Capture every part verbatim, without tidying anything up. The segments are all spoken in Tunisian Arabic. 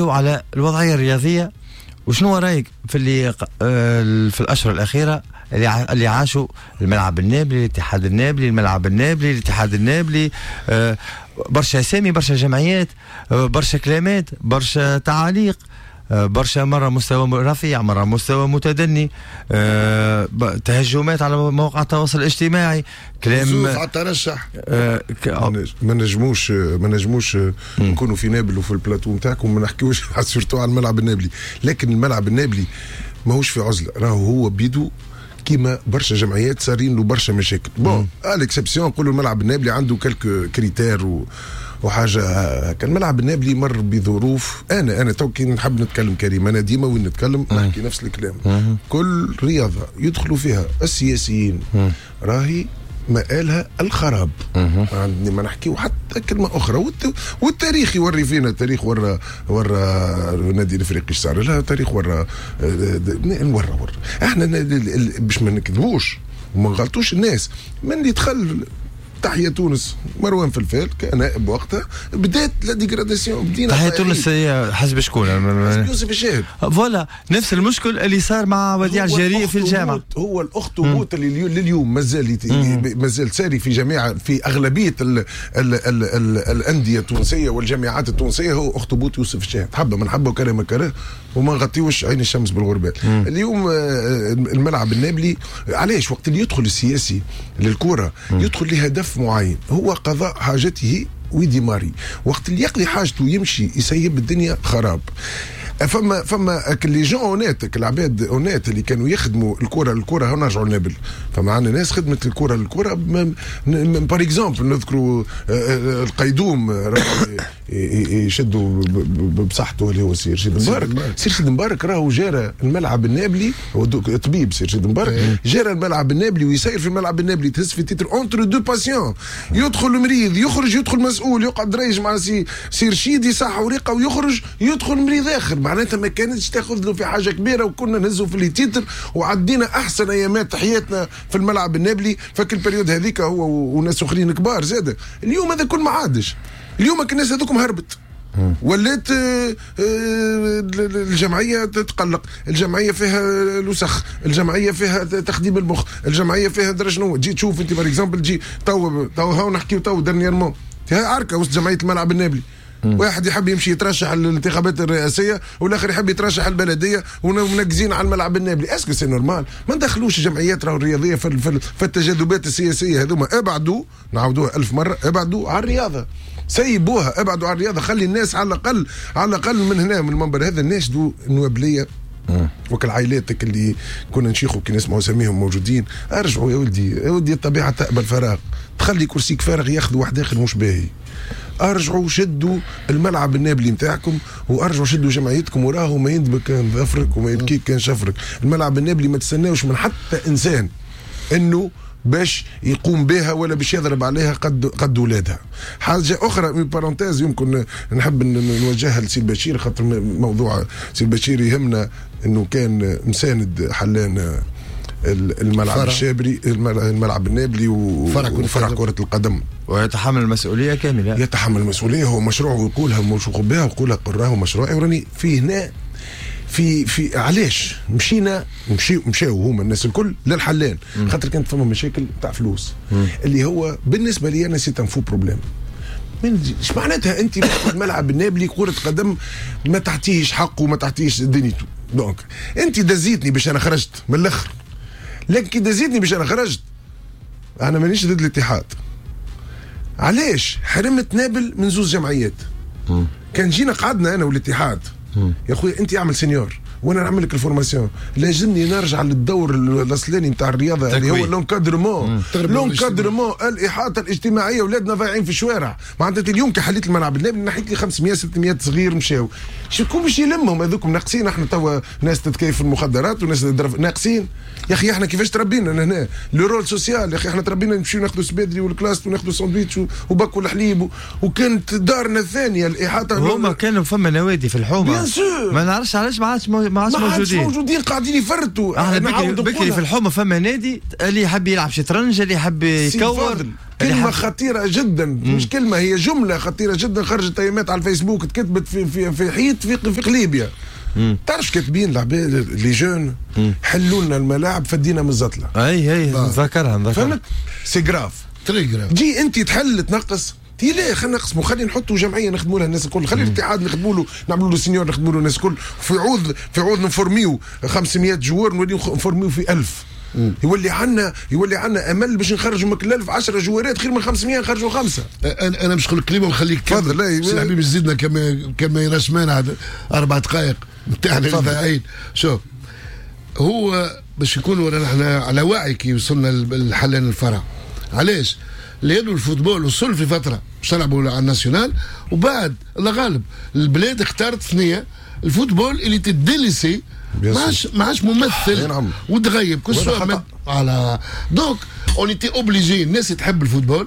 على الوضعية الرياضية، وشنو رايك في اللي آه، في الاشهر الاخيرة اللي اللي عاشوا الملعب النابلي، الاتحاد النابلي، الملعب النابلي، الاتحاد النابلي، آه، برشا اسامي، برشا جمعيات، آه، برشا كلامات، برشا تعاليق، برشا مرة مستوى رفيع، مرة مستوى متدني، تهجمات على مواقع التواصل الاجتماعي، كلام على الترشح. آه ما نجموش ما نجموش نكونوا في نابل وفي البلاتو نتاعكم وما نحكيوش surtout على الملعب النابلي، لكن الملعب النابلي ماهوش في عزله، راهو هو بيدو كيما برشا جمعيات صارين له برشا مشاكل. bon، à l'exception نقولوا الملعب النابلي عنده quelques critères و وحاجه هكا. الملعب النابلي مر بظروف. انا انا تو كي نحب نتكلم كريم، انا ديما وين نتكلم نحكي نفس الكلام. كل رياضة يدخلوا فيها السياسيين راهي مآلها الخراب، ما نحكيو حتى كلمة اخرى. والتاريخ يوري فينا، التاريخ ورا ورا النادي الافريقي صار لها تاريخ، ورا ورا ورا احنا باش ما نكذبوش وما نغلطوش الناس، من اللي دخل تحيا تونس مروان فلفال كنائب وقتها بدات la dégradation. بدينا تحيا تونس هي حزب شكون؟ حزب يوسف الشاهد. voilà، نفس المشكل اللي صار مع وديع الجريء في الجامعه. هو الاخطبوط اللي لليوم مازال مازال ساري في جميع في اغلبية ال ال ال ال الاندية التونسية والجامعات التونسيه، هو اخطبوط يوسف الشاهد، حبه من حبه وكره من كره، وما نغطيوش عين الشمس بالغربال. اليوم آه، الملعب النابلي علاش وقت اللي يدخل السياسي للكرة يدخل لهدف معين، هو قضاء حاجته وي démarrer. وقت اللي يقضي حاجته يمشي يسيب الدنيا خراب. فما فما les gens honnêtes، العباد honnêtes اللي كانوا يخدموا الكره الكره هنا نرجعوا لنابل، فما عندنا ناس خدمت الكره الكره par exemple نذكروا آه، آه، القيدوم يشدوا بصحته اللي هو سي رشيد مبارك. سي رشيد مبارك راهو جارى الملعب النابلي، هو طبيب سي رشيد مبارك، إيه. جارى الملعب النابلي ويسير في الملعب النابلي، تهز في titres entre deux patients، يدخل مريض يخرج، يدخل مسؤول يقعد رايج مع سي سي رشيد يصح ورقة ويخرج، يدخل مريض اخر. معناتها ما كانتش تاخذ له في حاجة كبيره، وكنا نهزوا في les titres وعدينا احسن ايامات حياتنا في الملعب النابلي فك ال période هذيك، هو وناس اخرين كبار زاد. اليوم هذا كل ما عادش، اليوم الناس هذوكم هربت، ولات آه، آه، الجمعية تتقلق، الجمعية فيها الوسخ، الجمعية فيها تخديم المخ، الجمعية فيها درا شنو. تجي تشوف انت par exemple تجي تو تو هاو نحكيو تو dernièrement فيها عركة وسط جمعية الملعب النابلي، واحد يحب يمشي يترشح للانتخابات الرئاسية والاخر يحب يترشح البلديه، ومنقزين على الملعب النابلي. est-ce que c'est normal؟ ما ندخلوش الجمعيات راهو الرياضية في, في التجاذبات السياسية هذوما. ابعدوا، نعاودوها ألف مره، ابعدوا على الرياضه، سيبوها، ابعدوا على الرياضه. خلي الناس على الاقل على الاقل من هنا من المنبر هذا ناشدوا النوابليه وكل عائلاتك اللي كنا نشيخوا كي نسمعوا اساميهم موجودين، ارجعوا يا ولدي يا ولدي، الطبيعة تقبل فراغ، تخلي كرسيك فارغ ياخذ واحد اخر مش باهي. ارجعوا شدوا الملعب النابلي نتاعكم وارجعوا شدوا جمعيتكم، وراهو ما يندبك كان ظفرك وما يبكيك كان شفرك. الملعب النابلي ما تستناوش من حتى انسان انه باش يقوم بها ولا باش يضرب عليها قد قد ولادها. حاجة اخرى من parenthèse يمكن نحب نوجهها لسي البشير، خاطر موضوع سي البشير يهمنا، انه كان مساند حلان الملعب فرع. الشابري، الملعب النابلي وفرع وفرع كرة القدم. ويتحمل المسؤولية كاملة. يتحمل المسؤولية، هو مشروع ويقولها موثوق بها ويقولها قراه مشروعي وراني فيه هنا في في علاش مشينا مشي مشاو هما الناس الكل للحلان؟ خاطر كانت فما مشاكل تاع فلوس، مم. اللي هو بالنسبة لي انا c'est un faux problème. ايش معناتها انت الملعب النابلي كرة قدم ما تعطيهش حقه وما تعطيهش دنيته؟ donc انت دزيتني باش انا خرجت من الاخر، لكن كي دزيتني باش انا خرجت، انا مانيش ضد الاتحاد. علاش حرمت نابل من زوز جمعيات؟ مم. كان جينا قعدنا انا والاتحاد، يا خويا انت اعمل senior وانا نعمل لك ال formation. لازمني نرجع للدور الاصلاني نتاع الرياضة اللي هو l'encadrement l'encadrement الاحاطة الاجتماعيه. اولادنا ضايعين في الشوارع. معناتها اليوم كي حليت الملعب النابلي نحيت لي خمسمية ستمية صغير مشاو، شكون باش يلمهم هذوك؟ ناقصين احنا توا ناس تتكيف في المخدرات وناس ناقصين. يا اخي احنا كيفاش تربينا هنا؟ le rôle social، يا اخي احنا تربينا نمشيو ناخذوا سبادري والكلاس وناخذوا ساندويتش وباكو الحليب و... وكانت دارنا الثانية الاحاطه. هما كانوا فما نوادي في الحومه. bien sûr. ما نعرفش علاش ما عادش ما عادش موجودين، موجودين قاعدين يفرتوا. احنا بكري, بكري في الحومه فما نادي اللي يحب يلعب شطرنج، اللي يحب يكور. كلمة خطيرة جدا، مش كلمة، هي جملة خطيرة جدا، خرجت ايامات على الفيسبوك، تكتبت في في في حيط في في قليبيا. تعرف كاتبين العباد les jeunes حلوا لنا الملاعب فدينا من الزطله. اي اي نذكرها نذكرها. فهمت؟ c'est grave، très grave. تجي انت تحل تنقص، تي لا خلينا نقسموا، خلينا نحطوا جمعية نخدموا لها الناس الكل، خلي الاتحاد نخدموا له، نعملوا له senior، نخدموا له الناس الكل، في عوض في عوض نفورميو خمسمية joueur نوليو نفورميو في ألف. يولي عندنا يولي عندنا امل باش نخرجوا من كل ألف عشرة جوارات خير من خمسمية نخرجوا خمسة. انا انا مش نقول كلمة ونخليك تفضل. لا سي الحبيب زيدنا كما كما يراش مانع اربع دقائق نتاعنا الإذاعيين. شوف، هو باش نكونوا نحن على وعي كي وصلنا لحلان الفرع. علاش؟ لانه ال football وصل في فترة باش نلعبوا على ال national، وبعد الله غالب البلاد اختارت ثنيه ال football اللي تدلسي ما عادش ما عادش ممثل نعم. وتغيب كل سوا على donc on était obligé. الناس تحب ال football،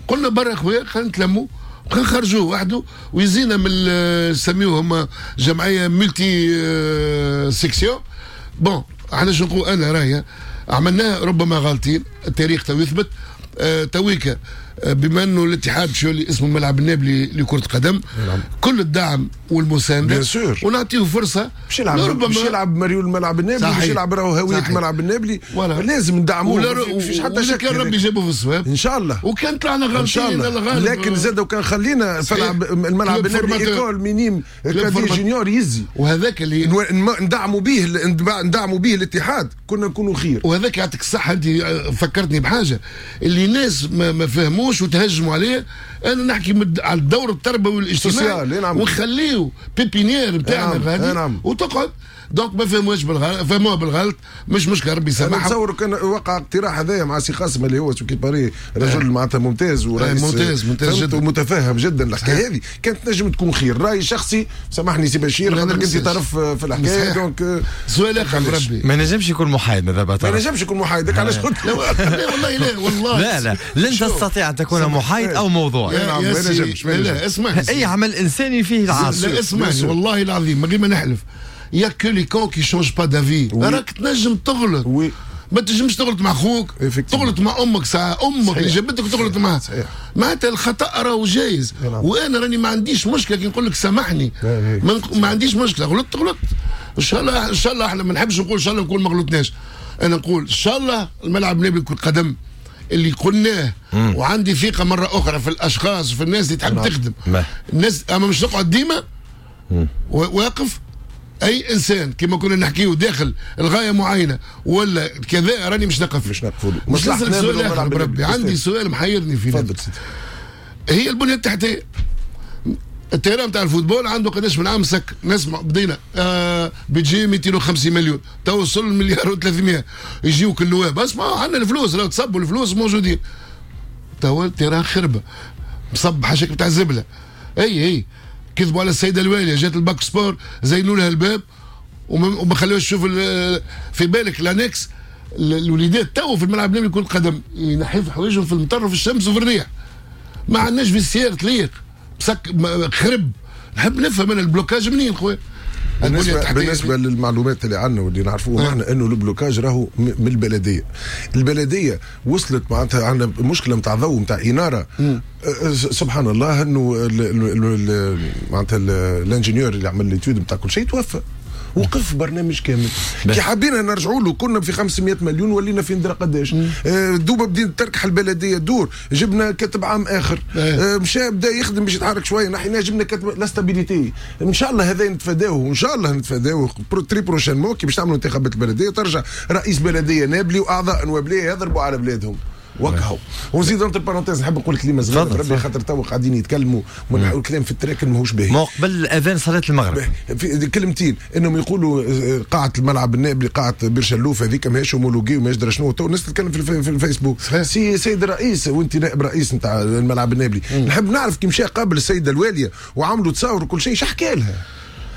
قلنا برا خويا خلينا نتلموا خلينا نخرجوه وحده ويزينا من سميوه هما جمعية multi section. bon احنا شو نقول، انا رايي عملناها ربما غالطين، التاريخ تو يثبت. آه تويكا آه بما انه الاتحاد شو اللي اسمه الملعب النابلي لكرة قدم، نعم. كل الدعم والمسانده bien sûr. ونعطيه فرصة باش يلعب، باش يلعب مريول الملعب النابلي، باش يلعب راهو هوية الملعب النابلي، لازم ندعموه، ما فيش حتى شك. كان ربي جابه في الصواب ان شاء الله، وكان طلعنا غالطين ان شاء الله، لكن زاد وكان خلينا الملعب النابلي école minimes cadets juniors يزي، وهذاك اللي ندعموا به ندعموا به الاتحاد كنا نكونوا خير. وهذاك يعطيك الصحة، انت فكرتني بحاجة اللي الناس ما, ما فهموش وتهجموا عليه. انا نحكي على الدور التربوي والاجتماعي ونخليه pépinière نتاعنا غادي وتقعد. donc ما فهموش بالغلط، فهموها بالغلط، مش مشكلة، ربي يسامحهم. نتصور كان وقع اقتراح هذايا مع سي قاسم اللي هو ce qui paraît رجل معناتها ممتاز ورئيس ممتاز ممتاز جدا ومتفهم جدا الحكاية هذه، كانت تنجم تكون خير. راي شخصي، سامحني سي بشير خاطر كنت طرف في الحكاية. donc سؤال اخر بربي، ما نجمش يكون محايد ماذا ما نجمش يكون محايد، علاش قلت؟ لا والله لا والله لا لا لن تستطيع ان تكون محايد او موضوعي. ما نجمش. لا اسمعني، اي عمل انساني فيه العاطفة. لا اسمعني والله العظيم من غير ما نحلف، y a que les cons qui changent pas d'avis. راك تنجم تغلط، oui. ما تنجمش تغلط مع خوك، تغلط مع امك، ساعة امك اللي جابتك تغلط معها، معناتها الخطا راهو جايز. وانا راني ما عنديش مشكلة كي نقول لك سامحني، ما, ما عنديش مشكلة، غلطت غلطت. ان شاء الله ان شاء الله احنا ما نحبش نقول ان شاء الله نكون ما غلطناش، انا نقول ان شاء الله الملعب النابلي كرة قدم اللي قلناه، وعندي ثقة مرة اخرى في الاشخاص وفي الناس اللي تحب تخدم الناس. اما مش نقعد ديما واقف اي انسان كما كنا نحكيه داخل الغاية معينة ولا كذا، راني مش نقف مش نقف. مش نسألك سؤال اخر بربي، عندي سؤال محيرني فيه. تفضل سيدي. هي البنية التحتية، ال terrain تاع ال football عنده قداش من عام سك، نسمع بدينا آه بيجي مئتين وخمسين مليون، تو وصل مليار وثلاثمية، يجيوك النواب اسمع عندنا الفلوس، لو تصبوا الفلوس موجودين. تو ال terrain خربه، مصب حاشاك بتاع الزبله. اي اي كذبوا على السيدة الواليه، جات ال bac sport زينوا لها الباب وما خلوش تشوف. في بالك l'annexe الوليدات تو في الملعب النابلي كرة قدم ينحيوا في حوايجهم في المطر وفي الشمس وفي الريح. ما عندناش vestiaire تليق، بسك خرب. نحب نفهم انا ال blocage منين خويا؟ بالنسبة, بالنسبة للمعلومات اللي عندنا واللي نعرفوه احنا انه ال blocage راهو من البلدية. البلدية وصلت معناتها عندنا مشكلة نتاع ضوء نتاع انارة. سبحان الله انه معناتها ال ingénieur اللي عمل l'étude نتاع كل شيء توفى، وقف برنامج كامل. كي حبينا نرجعوا له كنا في خمسمية مليون ولينا في ندرا قداش. آه دوبا بدينا تركح البلدية دور، جبنا كاتب عام اخر، آه مشى بدا يخدم باش يتحرك شوية، نحيناه جبنا كاتب la stabilité. ان شاء الله هذا نتفاداوه، وان شاء الله نتفاداوه très prochainement كي باش تعملوا انتخابات البلدية ترجع رئيس بلديه نابلي واعضاء نوابليه يضربوا على بلادهم وكهو. ونزيد entre parenthèses نحب نقول كلمة صغيرة ربي، خاطر تو قاعدين يتكلموا والكلام في التراكن ماهوش باهي. ما قبل الاذان صلاة المغرب في كلمتين انهم يقولوا قاعة الملعب النابلي قاعة بيرشلوف هذيك ماهيش homologuée وماهيش درا شنو. تو الناس تتكلم في, في الفيسبوك. سي سيد الرئيس وانت نائب رئيس نتاع الملعب النابلي، نحب نعرف كي مشى قابل السيدة الواليه وعملوا تصاور وكل شيء، اش حكى لها؟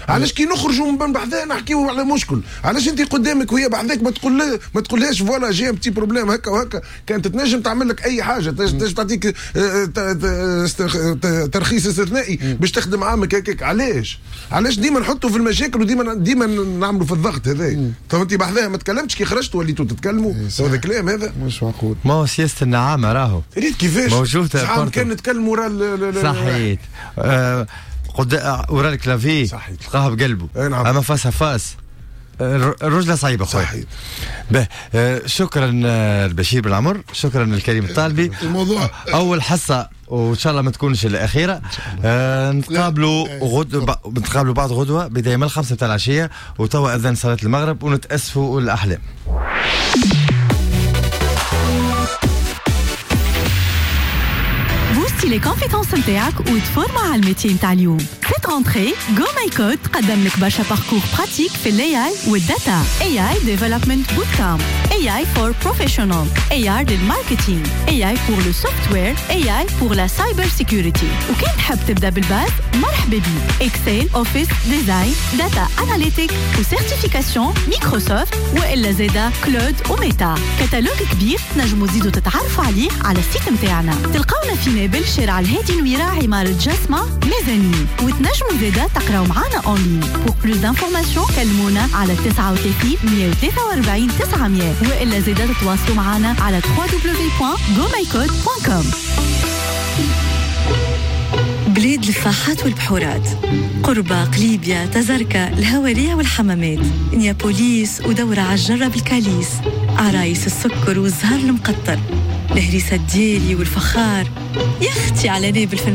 علاش كي نخرجوا من بحذاه نحكيو على مشكل؟ علاش انت قدامك وهي بحذاك ما تقول ما تقولهاش voilà j'ai un petit problème هكا وهكا، كانت تنجم تعمل لك اي حاجة، تنجم تعطيك ترخيص استثنائي باش تخدم عامك هكاك. علاش؟ علاش ديما نحطوا في المشاكل وديما ديما نعملوا في الضغط هذا؟ تو انت بحذاها ما تكلمتش، كي خرجت وليتوا تتكلموا، هذا كلام هذا مش معقول. ما هو سياسة النعامه راهو ريت كيفاش موجودة، عام كان نتكلموا ورا صحيت آه قد ورا ال clavier تلقاها بقلبه، نعم. اما face à face الرجله صعيبة خويا. صحيح. به آه شكرا البشير بن عمر، شكرا الكريم الطالبي. الموضوع اول حصة وان شاء الله ما تكونش الاخيرة. آه نتقابلوا غد نتقابلوا بعد غدوه بداية من الخمسة تاع العشية، وتوا اذان صلاة المغرب، ونتاسفوا الاحلام. les compétences نتاعك وتفورما على ال métier نتاع اليوم. Cette rentrée GoMyCode تقدم لك برشا parcours pratiques في ال AI وال data، AI development bootcamp، AI for professional، AI لل marketing، AI pour le software، AI pour la cyber security. وكان تحب تبدا بال base مرحبا بيك، Excel، Office، design، data analytic و certification Microsoft والا زادا cloud و Meta. catalogue كبير تنجموا تزيدوا تتعرفوا عليه على ال site نتاعنا. تلقاونا في نابل شارع الهادي نويرة عمارة جسمة ميزانين، وتنجموا زادا تقراو معانا en ligne. Pour plus d'informations كلمونا على تسعة وثلاثين مية وثلاثة وأربعين تسعمية، والا زادا تتواصلوا معانا على دبليو دبليو دبليو دوت جومايكود دوت كوم. بلاد الفاحات والبحورات، قربة، قليبيا، تزركة، الهوارية والحمامات، نيابوليس ودورة عالجرة بالكاليس، عرايس السكر والزهر المقطر، الهريسة الديالي والفخار. يا اختي على نابل في